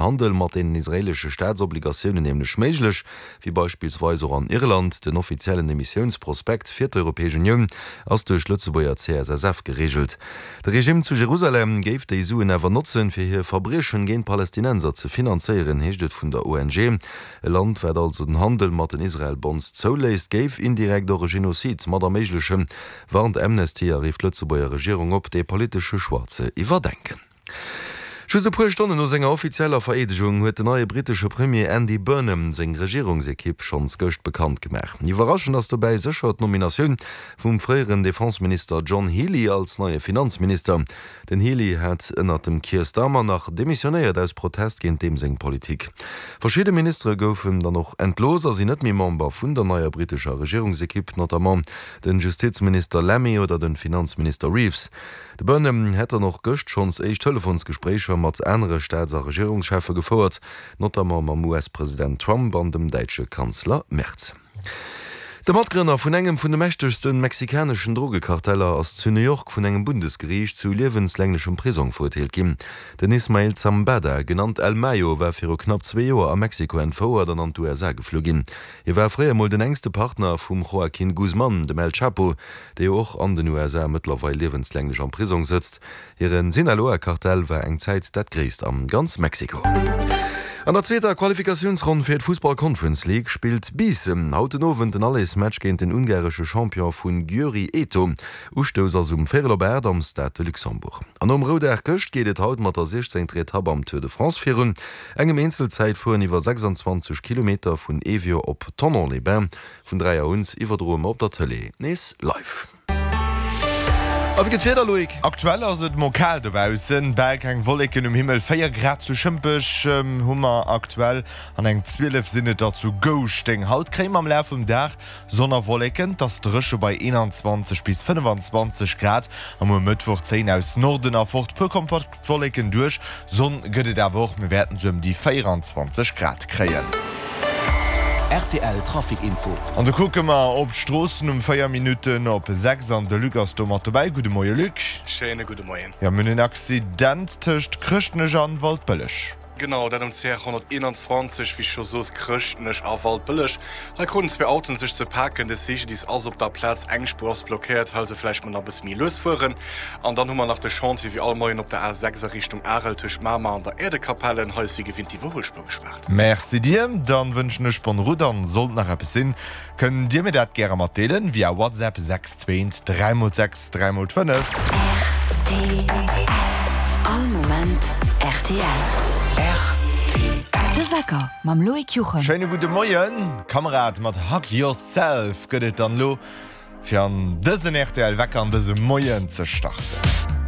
Handel mat deenen israeelesche Staatsobligatiounen nämlech méiglech, wéi beispillsweis och an Irland. Den offiziellen Emissiounsprospekt fir d'Europäesch Unioun ass duerch d'Lëtzebuerger CSSF gereegelt. De Regime zu Jerusalem géif déi Suen awer notzen, fir hir Verbriechen géint Palästinenser ze finanzéieren, heescht et vun der ONG. E Land, wat also den Handel mat den Israel-Bonds zouléisst, géif indirekt och e Genozid mat erméiglechen, warnt Amnesty a rifft d'Lëtzebuerger Regierung op, dee politesche Choix ze iwwerdenken. Just e puer Stonnen no senger offizieller Vereedegung huet den neie brittesche Premier Andy Burnham seng Regierungsekipp schonns gëscht bekannt gemaach. Iwwerraschend ass dobäi sécher d'Nominatioun vum fréieren Defenseminister John Healey als neie Finanzminister. Den Healey hat ënnert dem Keir Starmer nach demissionéiert aus Protest géint deem seng Politik. Verschidde Ministere goufen dann och entlooss a sinn net méi Member vun der neier brittescher Regierungsekipp, notamment den Justizminister Lammy oder den Finanzminister Reeves. De Burnham hätt dann och gëscht schonns éischt Telefonsgespréicher mat anere Staats a Regierungscheffe gefouert, notamment mam US-President Trump an dem däitsche Kanzler Merz. De Matgrënner vun engem vun de mächtegste mexikaneschen Drogekarteller ass zu New York vun engem Bundesgeriicht zu liewenslänglechem Prisong verurteelt ginn. Den Ismael Zambada, genannt El Mayo, war viru knapp zwee Joer a Mexiko entfouert an an d'USA geflu ginn. Hie war fréier mol den enkste Partner vum Joaquin Guzman, dem El Chapo, dee jo och an den USA mëttlerweil liewenslänglech am Prisong sëtzt. Hire Sinaloa-Kartell war eng Zäit dat gréisst a ganz Mexiko. An der zweeter Qualifikatiounsronn fir d'Fussball-Conference League spillt Biissen haut den Owend den Allersmatch géint den ungaresche Champion vun Győri ETO. Ustouss ass um véierel op 8 am Stade de Luxembourg. An nom Roudag gëscht geet et haut mat der 16. Etapp am Tour de France virun, engem Eenzelzäitfueren iwwer 26 Kilometer vun Évian op Thonon-les-Bains. Vun 3 Auer un iwwerdroe mer op der Tëlee nees live. A wéi gëtt d'Wieder, Loïc? Aktuell ass et mol kal dobaussen, bal keng Wolleken um Himmel, 4 Grad zu Schëmpech hu mer aktuell an eng 12 sinn et der zu Gouschteng. Haut kréie mer am Laf vum Dag Sonn a Wolleken, 't ass dréche bei 21 bis 25 Grad a muer Mëttwoch zéien aus Norden erfort puer kompakt D'Wolleken duerch, Sonn gëtt et awer och, mir wäerten sou ëm déi 24 Grad kréien. Rtl Trafic Info. An da kucke mer op d'Stroossen um 4 Minutten op 6 an de Luc ass do mat dobäi. Gudde Moie Luc. Schéine gudde Moien. Jo, mir hunn en Accident tëscht Chrëschtnech an Waldbëlleg. Genau, dat um CR 121, wéi scho soos, Chrëschtnech a Waldbëlleg. Hei kruten zwee Autoen sech ze paken. De CGDIS ass op der Plaz, eng Spuer ass blockéiert, hei also vläicht mol nach e bësse méi lues fueren. An dann hu mer nach de Chantier wéi all Moien op der A6 a Richtung Arel tëscht Mamer an der Äerdekapelle. Hei ass wéi gewinnt d'Iwwerhuelspuer gespaart. Merci dir, dann wënschen ech bonne route an sollt nach eppes sinn, Kënnt Dir mir dat gäre matdeelen via WhatsApp 6 2 3 x 6 3 x 5. Rtl. All Moment rtl. Rtl. De Wecker mam Loïc Juchem. Schéine gudde Moien, Kamerad. Mat Hug Yourself gëtt et dann elo fir an dësen rtl Wecker an dëse Moien ze starten.